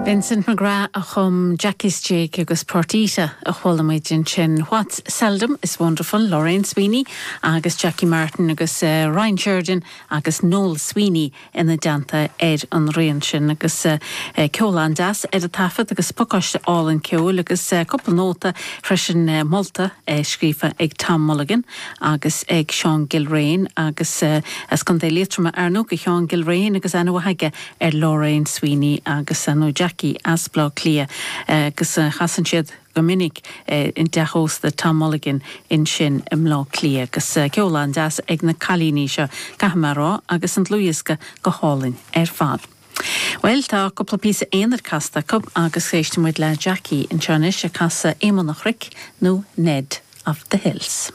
Vincent McGrath a chum Jackie's Jig agus Portita a chuala muid ansin. What's Seldom is Wonderful, Lorraine Sweeney agus Jackie Martin agus Ryan Sheridan agus Noel Sweeney ina dteannta ar an rian sin agus ceol an-deas ar an taifead agus pacáiste álainn ceoil agus cúpla nóta freisin molta scríofa ag Tom Mulligan agus ag Seán Gilrane agus as Contae Liatroma ar ndóigh do Sheán Gilrane agus aithne mhaith aige ar Lorraine Sweeney agus ar ndóigh Jackie as Bleá Cliath agus chasann siad go minic i dteach ósta Tom Mulligan ansin i mBleá Cliath agus ceol an-deas ag na cailíní seo, caithfidh mé a rá, agus an dlúthdhiosca go hálainn ar fad. Bhuel, tá cúpla píosa aonair casta acu agus éistfidh muid le Jackie anseo anois ag casadh Éamonn an Chnoic nó Ned of the Hills.